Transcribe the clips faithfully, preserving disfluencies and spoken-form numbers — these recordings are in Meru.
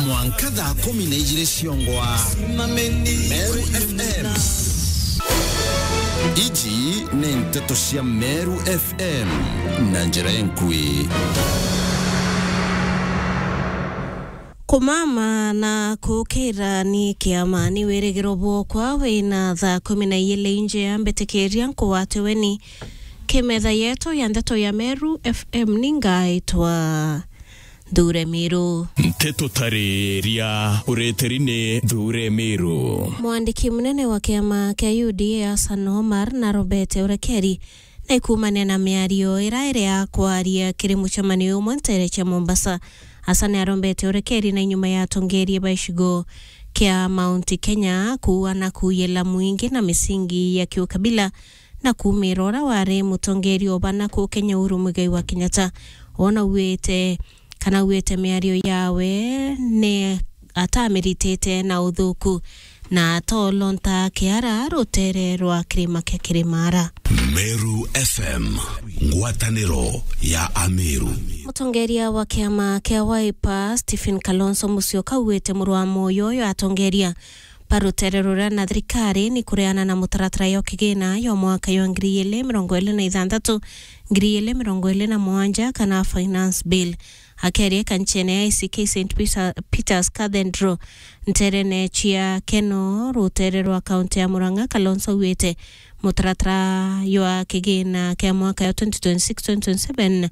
Mwanka thaa kumi na ijiri ciongwa. Meru F M. Iji ni nteto cia Meru F M na njira enkui. Kumama na kukira ni kiama ni wirigiro bwokwa wina thaa kumi na ijiri nje ya mbitikiria nkuwate weni. Kimetha yetu ya nteto ya Meru F M ni ngaitwa Nthure Miru. Nteto tariria ureteri ni Nthure Miru. Mwandiki munene wa kiama kia U D A Hassan Omar na Robert Urekeri ni kuumania na miario ira iri ya kwaria kiri mucemanio umwe ntere cia Mombasa. Hassan arombete Urekeri na inyuma ya atongeria ba icigo kia Mount Kenya kuua na kuuyela mwingi na misingi ya kiukabila na kuumira uria wari mutongeria o bana ku Kenya Uhuru Muigai wa Kenyatta. Ona auite kana auite miario yawe ni atamiritite na uthuku na atolonta kiara rutere rwa kirima kia Kirimara. Meru F M, ngwataniro ya Ameru. Mutongeria wa kiama kia Wiper, Stephen Kalonzo Musyoka, auite muru wa moyo uyo atongeria ba rutere ruria na thirikari ni kureana na mutaratara yo kigina yo mwaka yo ngiri igiri mirongo iri na ithanthatu, ngiri igiri mirongo iri na mugwanja kana finance bill. Akiaria kanchene ya A C K Saint Peter, Peter's Cathedral, nterene cia Keno, rutere rwa kaunti ya Murang'a, Kalonzo auite mutaratara jwa kigina kia mwaka ya twenty twenty-six twenty twenty-seven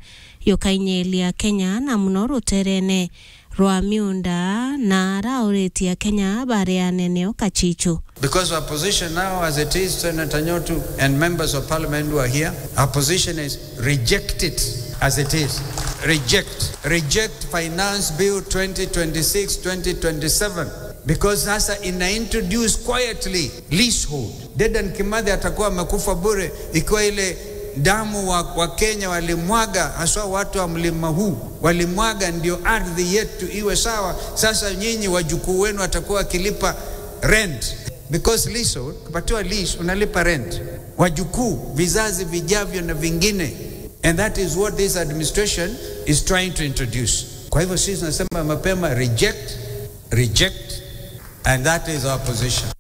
jukainyelia Kenya na muno ruterene rwa miunda na arauritie Akenya bareane neo kachichu. Because our position now as it is, Senator Nyotu and members of parliament who are here, our position is reject it as it is. Reject. Reject Finance Bill twenty twenty-six, twenty twenty-seven. Because sasa ina introduce quietly leasehold. Dedan Kimathi atakuwa amekufa bure ikiwa ile damu wa, wa Kenya walimwaga, haswa watu wa mlima huu walimwaga, ndio ardhi yetu iwe sawa. Sasa nyinyi wajukuu wenu watakuwa wakilipa rent. Because leasehold, ukipatiwa lease, unalipa rent. Wajukuu, vizazi vijavyo na vingine. And that is what this administration is trying to introduce. Kwa hivyo sisi tunasema mapema, reject, reject, and that is our position.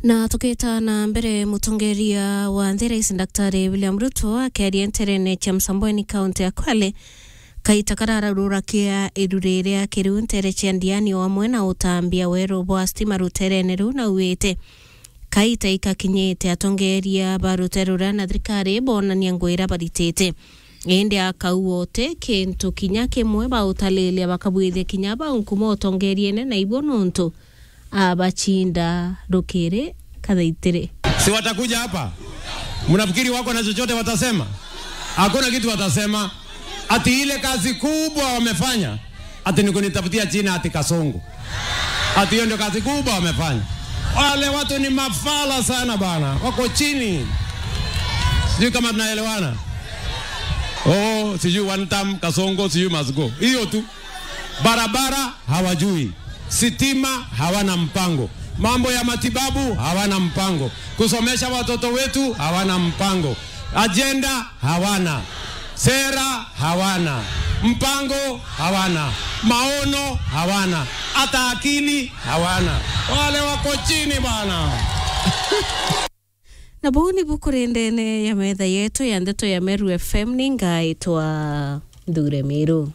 Na tukita na mbere, mutongeria wa nthi, Rais Daktari William Ruto, akiaria nterene cia Msambweni, kaunti ya Kwale, kaita karararura kia iru riria kiriu ntere cia Ndiani, o amwe na utambia weru bwa stima ruterene ruu, na auite kaita ikakinyite atongeria ba rutere ruria na thirikari bonania ngugi iria baritite. Indi akauga uti kintu kinya kimwe bautalilia, bakabwithia kinya bau nkuma utongeriene na ibo, nontu abachinda rukiri kathaitiri. Si watakuja hapa? Mnafikiri wako na chochote watasema? Hakuna kitu watasema. Ati ile kazi kubwa wamefanya, ati ni kunitafutia jina ati Kasongo. Ati hiyo ndio kazi kubwa wamefanya. Wale watu ni mafala sana bana, wako chini. Sijui kama tunaelewana. Oh, sijui one term Kasongo, sijui must go. Hiyo tu. Barabara hawajui. Sitima hawana mpango. Mambo ya matibabu hawana mpango. Kusomesha watoto wetu hawana mpango. Ajenda hawana. Sera hawana. Mpango hawana. Maono hawana. Hata akili hawana. Wale wako chini bana. Na buu nibu kuri ndene ya metha yetu ya ndeto ya Meru F M, ni ngaitwa Nthure Miru.